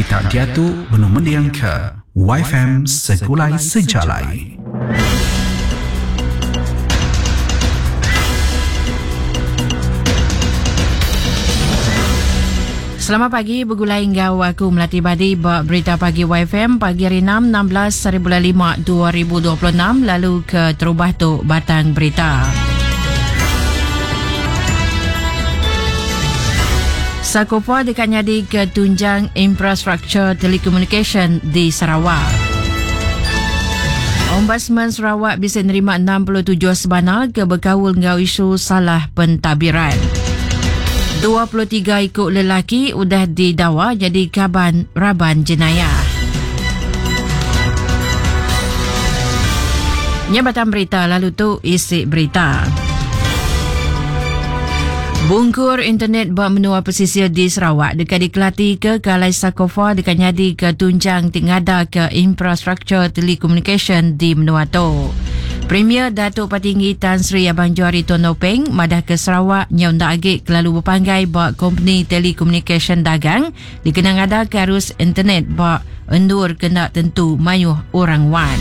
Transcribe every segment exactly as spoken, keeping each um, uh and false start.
Kita diatu benung mendingka Y F M Segulai Sejalai. Selamat pagi bergulai enggau aku Melati Badi ba Berita Pagi Y F M pagi hari enam enam belas hari bulan lima dua ribu dua puluh enam lalu ke terubah tu batang berita. Sakofa dekat nyadi ke tunjang infrastruktur telekomunikasi di Sarawak. Ombudsman Sarawak bisa nerima enam puluh tujuh sebana ke berkaul ngau isu salah pentadbiran. dua puluh tiga ikut lelaki udah didawa jadi kaban raban jenayah. Nyabatan berita lalu tu isi berita. Bungkur internet bak menua pesisir di Sarawak dekat dikelati ke Kalai Sakofa dekat nyadi ke tunjang tingada ke infrastruktur telekomunikasi di menua tu. Premier Datuk Patinggi Tan Sri Abang Johari Tun Openg madah ke Sarawak nyau ndak agi kelalu berpanggai bak company telekomunikasi dagang dikenang ada ke arus internet bak endur kena tentu mayuh orang wan.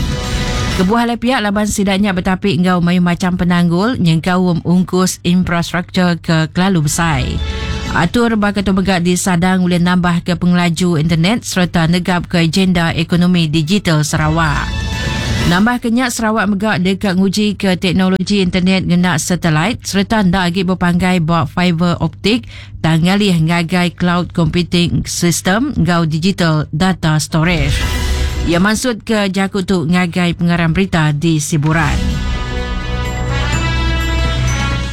Kebuah le pihak laban sidaknya bertapik ngau mayuh macam penanggul nyengkaum ungkus infrastruktur ke kelalu besar. Atur bakal megak disadang oleh nambah ke pengelaju internet serta negap ke agenda ekonomi digital Sarawak. Nambah kenyak Sarawak megak dekat nguji ke teknologi internet ngenak satelit serta ndak agi berpanggai bak fiber optik tangalih ngagai cloud computing system ngau digital data storage. Ia maksud ke jaku tu ngagai pengarang berita di Siburan.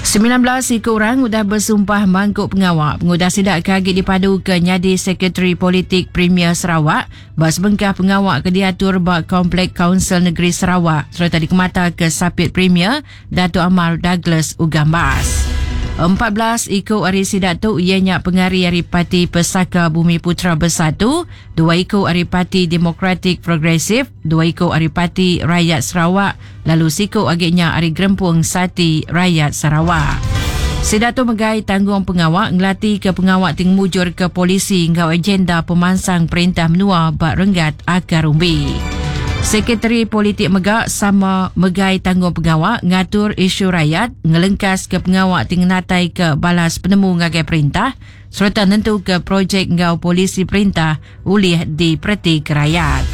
sembilan belas ikut orang sudah bersumpah mangkuk pengawak. Pengudah sidak kagit dipadu ke nyadi Sekretari Politik Premier Sarawak. Bak sebengkah pengawak ke diatur bak Komplek Kaunsil Negeri Sarawak serta dikemata ke Sapit Premier Datuk Amar Douglas Ugambas. empat belas ikut hari sidak tu ianya pengari hari Parti Pesaka Bumi Putra Bersatu, dua ikut hari Parti Demokratik Progresif, dua ikut hari Parti Rakyat Sarawak, lalu sikut agaknya hari Gerempung Sati Rakyat Sarawak. Sidak tu megai tanggung pengawak ngelati ke pengawak ting mujur ke polisi ngau agenda pemansang perintah menua bak renggat akar umbi. Sekretari Politik megak sama megai tanggung pengawak ngatur isu rakyat ngelengkas ke pengawak ting natai ke balas penemu ngagai perintah serta nentu ke projek ngau polisi perintah ulih diperti ke rakyat.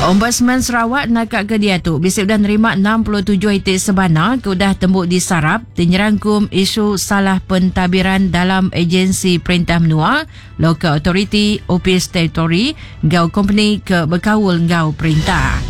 Ombudsman Sarawak nakak ke dia tu bisa sudah nerima enam puluh tujuh itik sebana ke udah tembuk disarap dinyerangkum isu salah pentadbiran dalam agensi perintah menua, local authority, office territory, ngau company ke berkaul ngau perintah.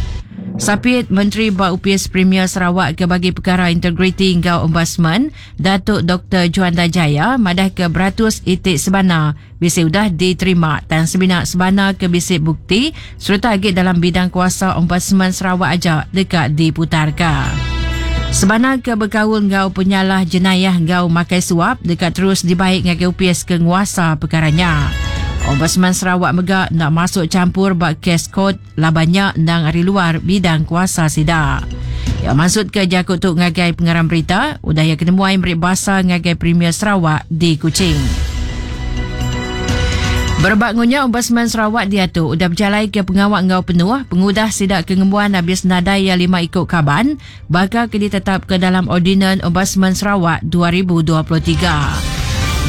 Sapit Menteri Bak Upis Premier Sarawak ke bagi perkara integriti ngau Ombudsman, Datuk Doktor Juanda Jaya madah ke beratus itik sebana bisa sudah diterima dan sebinak sebana ke bisik bukti serta agik dalam bidang kuasa Ombudsman Sarawak aja dekat diputarkan. Sebana ke berkaul ngau penyalah jenayah ngau makai suap dekat terus dibaik ngagai U P S ke nguasa perkaranya. Ombudsman Sarawak megak nak masuk campur bak kes kod labannya nang ari luar bidang kuasa sida. Ya maksud ke jakut tu ngagai pengarang berita, udah ya kena muai merik bahasa ngagai Premier Sarawak di Kuching. Berbak ngunya Ombudsman Sarawak dia tu udah berjalai ke pengawak ngau penuh, pengudah sidak kengembuan habis nadai ya lima ikut kaban, bakal ke ditetap ke dalam Ordinan Ombudsman Sarawak dua ribu dua puluh tiga.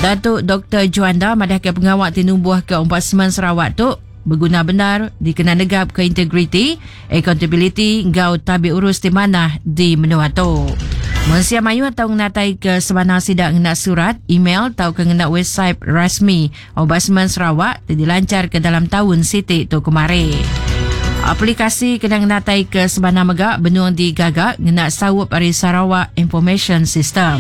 Datuk Doktor Juanda madah ke pengawak tinumbuh ke Ombudsman Sarawak tu berguna benar dikena negap ke integriti, accountability ngau tabi urus di mana di menua tu. Mensia mayu atau ngenatai ke sebana sidak ngena surat, email atau ke ngena website rasmi Ombudsman Sarawak dilancar ke dalam tahun sitik tu kemari. Aplikasi kena ngenatai ke sebana megak benuang digagak ngena sawup ari Sarawak Information System.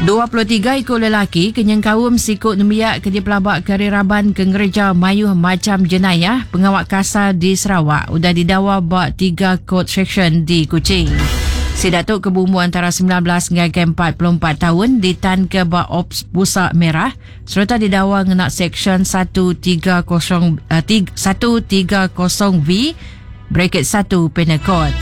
dua puluh tiga ikut lelaki kenyang kaum sikut nemiak ke dipelabak kari raban ke ngereja mayuh macam jenayah pengawak kasar di Sarawak udah didawa bak tiga court section di Kuching. Sidatuk kebumu antara sembilan belas hingga empat puluh empat tahun ditan ke bak Ops Pusat Merah serta didawa ngena section satu tiga kosong, uh, tiga, satu tiga kosong V bracket satu Penal Code.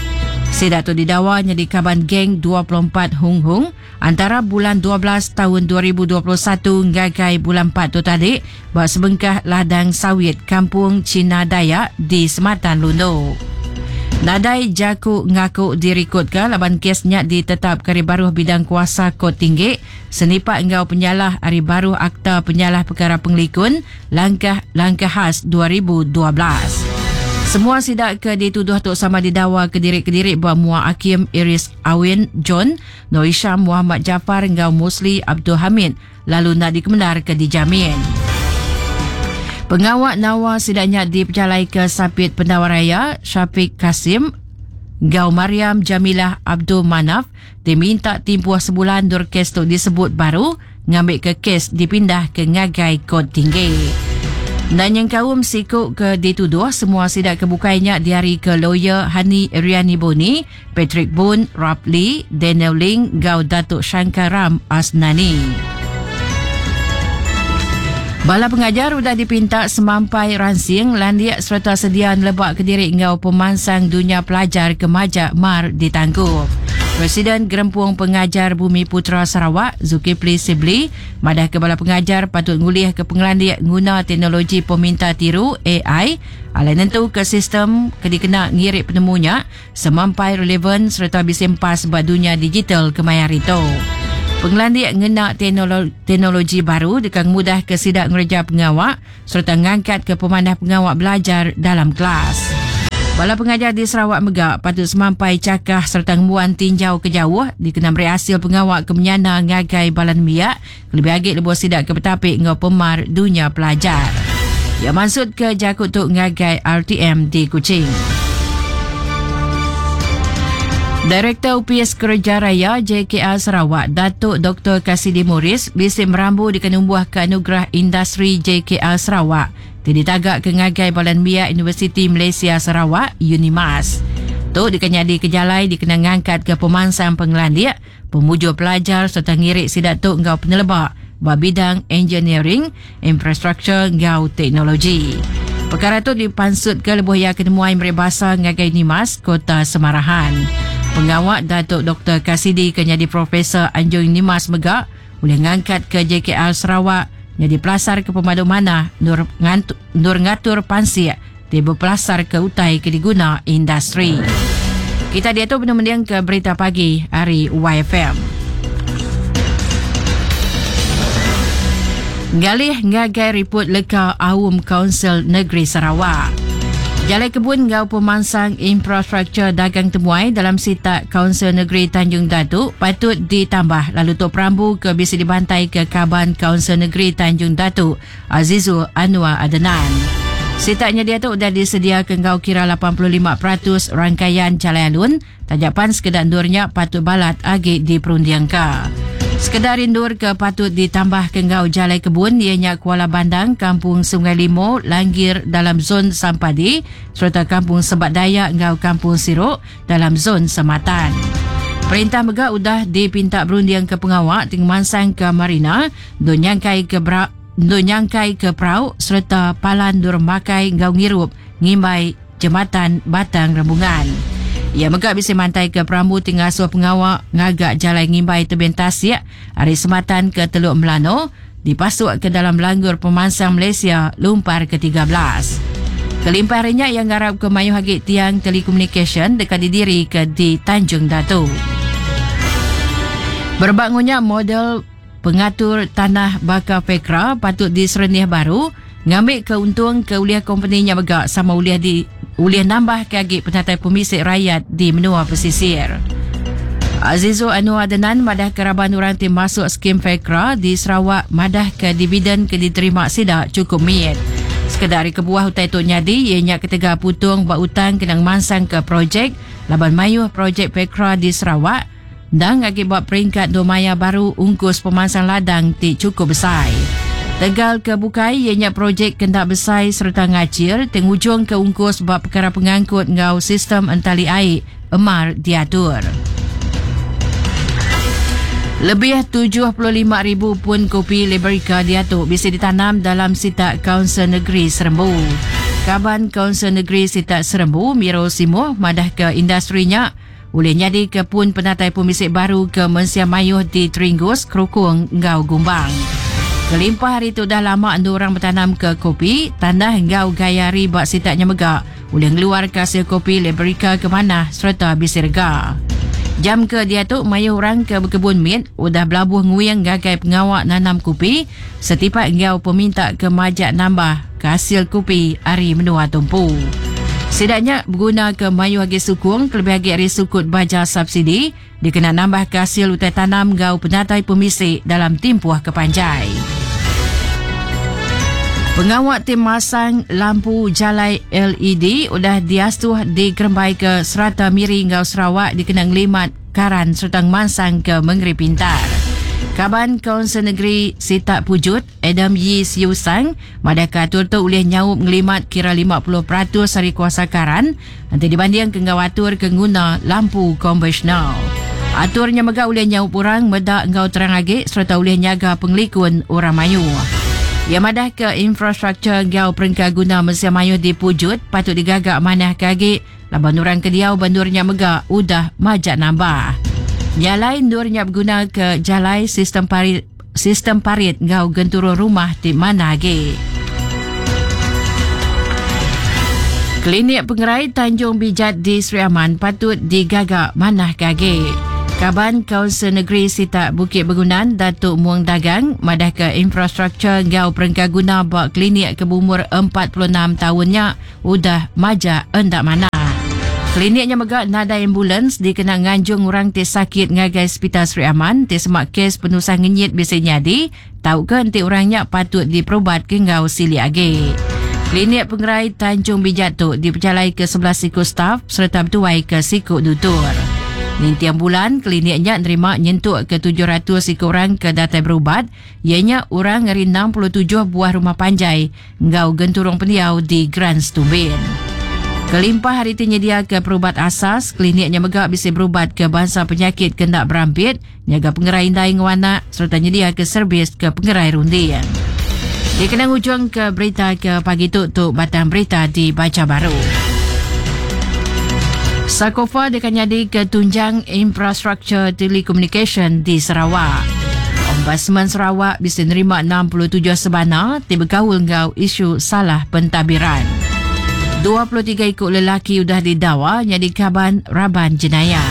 Sidak tu didawa jadi kaban geng dua puluh empat Hung Hung antara bulan dua belas tahun dua ribu dua puluh satu ngagai bulan empat tu tadi ba sebengkah ladang sawit Kampung Cina Dayak di Sematan Lundu. Nadai jaku ngaku direkodka laban kesnya ditetap kari baruh bidang kuasa Kot Tinggi senipak enggau penyalah ari baruh Akta Penyalah Perkara Pengelikun Langkah-Langkah Khas dua ribu dua belas. Semua sidak ke dituduh tu sama didawa ke diri-kediri buat Mua Hakim Iris Awin John, Noor Hisham Muhammad Jaafar enggau Musli Abdul Hamid lalu nak dikemenar ke dijamin. Pengawak nawa sidaknya diperjalai ke Sapit Pendawaraya Syafiq Kasim Gau Mariam Jamilah Abdul Manaf diminta timpuh sebulan dur kes tu disebut baru ngambil ke kes dipindah ke ngagai Kot Tinggi. Dan yang kaum sikuk ke dituduh semua sidak kebukainya diari ke lawyer Hani Riani Boni, Patrick Boon, Rapli, Daniel Ling, Gau Datuk Shankaram Asnani. Bala pengajar sudah dipinta semampai ransing, landiak serta sedia lebak ke diri ngau pemansang dunia pelajar kemajak mar ditanggup. Presiden Gerempung Pengajar Bumi Putra Sarawak, Zulkifli Sibli, madah ke bala pengajar patut ngulih ke pengelandiak guna teknologi peminta tiru A I alai nentu ke sistem ke dikena ngirik penemunya semampai relevan serta bisempas buat dunia digital kemayar itu. Pengelandiak ngena teknolo-, teknologi baru dekat mudah ke sidak ngereja pengawak serta ngangkat ke pemanah pengawak belajar dalam kelas. Bala pengajar di Sarawak megak patut semampai cakah serta ngemuan tinjau ke jauh dikena beri hasil pengawak ke menyana ngagai balan miak lebih agik lebuh sidak ke betapik ngau pemar dunia pelajar. Ia maksud ke jakut tuk ngagai R T M di Kuching. Direktur U P S Kerja Raya J K R Sarawak, Datuk Doktor Kasidi Morris, bisik merambu di kenumbuh ke anugerah industri J K R Sarawak. Ti ditagak ke ngagai Balan Miak Universiti Malaysia Sarawak, Unimas. Tu dikenyadi ke jalai dikena ngangkat ke pemansang pengelandiak, pemujuk pelajar serta ngirik sidak tu ngau penelebak ba bidang engineering, infrastruktur ngau teknologi. Perkara tu dipansut ke lebuh ia kenemuai meribasa ngagai Unimas, Kota Semarahan. Pengawak Datuk Doktor Kasidi ke jadi Profesor Anjung Nimas Megak boleh ngangkat ke J K R Sarawak jadi pelasar ke pemadu mana nur, ngantu, nur ngatur pansik di berpelasar ke utai ke diguna industri. Kita dia tu benar-benar ke berita pagi hari Y F M. Galih ngagai report leka Aum Kaunsil Negeri Sarawak. Jalai kebun ngau pemansang infrastruktur dagang temuai dalam sitak Kaunsil Negeri Tanjung Datu patut ditambah lalu Tok Perambu ke bisa dibantai ke Kaban Kaunsil Negeri Tanjung Datu Azizul Anwar Adenan. Sitaknya dia tu dah disediakan ngau kira lapan puluh lima peratus rangkaian jalai alun tajapan sekedar ndurnya patut balat agi diperundiangka. Sekedar indur ke patut ditambah ke ngau jalai kebun ianya Kuala Bandang, Kampung Sungai Limo, Langgir dalam zon Sampadi serta Kampung Sebat Dayak ngau Kampung Siruk dalam zon Sematan. Perintah megah udah dipinta berundiang ke pengawak ting mansang ke Marina, do nyangkai ke bra, do nyangkai ke prau serta palan dur makai ngau ngirup ngimbai jembatan Batang Rembungan. Ia megak bisa mantai ke Perambu tinggal suah pengawak ngagak jalan ngimbai tebing tasik hari Sematan ke Teluk Melano dipasuk ke dalam langgur pemansang Malaysia lumpar ke tiga belas. Kelimpahannya yang ngarap ke Mayu Hagit Tiang Telekomunikasi dekat didiri ke di Tanjung Datu. Berbangunnya model pengatur tanah bakar Fekra patut diserenih baru ngambil keuntung ke uliah kompeninya megak sama uliah di uliah nambah ke agi penatai pemisik rakyat di menua pesisir. Azizul Anwar Adenan madah keraban orang ti masuk skim Fekra di Sarawak madah ke dividen ke diterima sidak cukup miat. Sekedar kebuah utai tu nyadi ianya ketiga putung buat utang kenang mansang ke projek laban mayuh projek Fekra di Sarawak dan agi buat peringkat domaya baru ungkus pemansang ladang ti cukup besar. Tegal ke bukai ianya projek kendak besar serta ngacir tengujung ke ungkus bab perkara pengangkut ngau sistem entali air emar diatur. Lebih tujuh puluh lima ribu pun kopi Liberica diatur bisa ditanam dalam sitak Kaunsil Negeri Serembu. Kaban Kaunsil Negeri Sitak Serembu, Miro Simo, madah ke industrinya Ulih nyadi ke pun penatai pemisik baru ke Mensia Mayuh di Teringgus, Kerukung, Ngau Gumbang. Kelimpah hari tu dah lama endu orang bertanam ke kopi, tanah ngau gaya riba sitaknya megak. Ulih ngeluar ke hasil kopi Liberika ke mana serta bisirga. Jam ke dia tu mayu orang ke berkebun mit udah belabuh nguyang gagai pengawak nanam kopi setipak ngau peminta ke majak nambah ke hasil kopi hari menua tumpu. Setidaknya berguna ke mayu agi sukung kelebih agi hari sukut baja subsidi dikena nambah ke hasil utai tanam ngau penatai pemisik dalam timpuh kepanjai. Pengawak tim masang lampu jalai L E D udah diastuh di Kerembai ke Serata Miri ngau Sarawak dikena ngelimat karan serta mansang ke Mengeri Pintar. Kaban Kaunsil Negeri Sitak Pujut, Adam Yii Siew Sang, madahka atur tu ulih nyaup ngelimat kira lima puluh peratus hari kuasa karan nanti dibanding ke ngau atur ke nguna lampu konvensional. Aturnya megak ulih nyaup orang medak ngau terang agi serta ulih nyaga pengelikun orang mayu. Yang madah ke infrastruktur ngau perengka guna Mensia Mayuh di Pujut patut digagak manah kagi laban orang ke diau bandurnya megak udah majak nambah. Nyalai nurnya berguna ke jalai sistem parit, sistem parit ngau genturung rumah di mana agi. Klinik Pengerai Tanjung Bijat di Sri Aman patut digagak manah kagi. Kaban Kaunsil Negeri Sitak Bukit Begunan Datuk Muang Dagang madah ke infrastruktur ngau perengka guna bak klinik ke berumur empat puluh enam tahunnya udah majak endak mana. Kliniknya megak nada ambulans dikena nganjung orang ti sakit ngagai Hospital Sri Aman ti semak kes penusah ngenyit bisa nyadi tau ke enti orangnya patut diperubat ke ngau silik agi. Klinik Pengerai Tanjung Bijat tu diperjalai ke sebelas siku staf serta bertuai ke siku dutur. Nintiang bulan, kliniknya nerima nyentuk ke tujuh ratus siku orang ke datai berubat, ianya orang dari enam puluh tujuh buah rumah panjai ngau genturung pendiau di Grand Stumbin. Kelimpah hari itu nyedia ke perubat asas, kliniknya megak bisa berubat ke bangsa penyakit kendak berampit, nyaga pengerai indai ngwana serta nyedia ke servis ke pengerai rundian. Dia kena ujung ke berita ke pagi tu tu batang berita dibaca baru. Sakofa dekan jadi ketunjang infrastruktur telekomunikasi di Sarawak. Ombudsman Sarawak bisa nerima enam puluh tujuh sebana ti bergaul ngau isu salah pentadbiran. dua puluh tiga ikut lelaki udah didawa jadi kaban raban jenayah.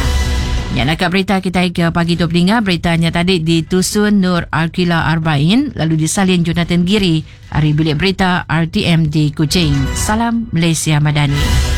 Yang nak berita kita ke pagi tu pelinga, beritanya tadi ditusun Nur Arkila Arbain lalu disalin Jonathan Giri hari bilik berita R T M di Kuching. Salam Malaysia Madani.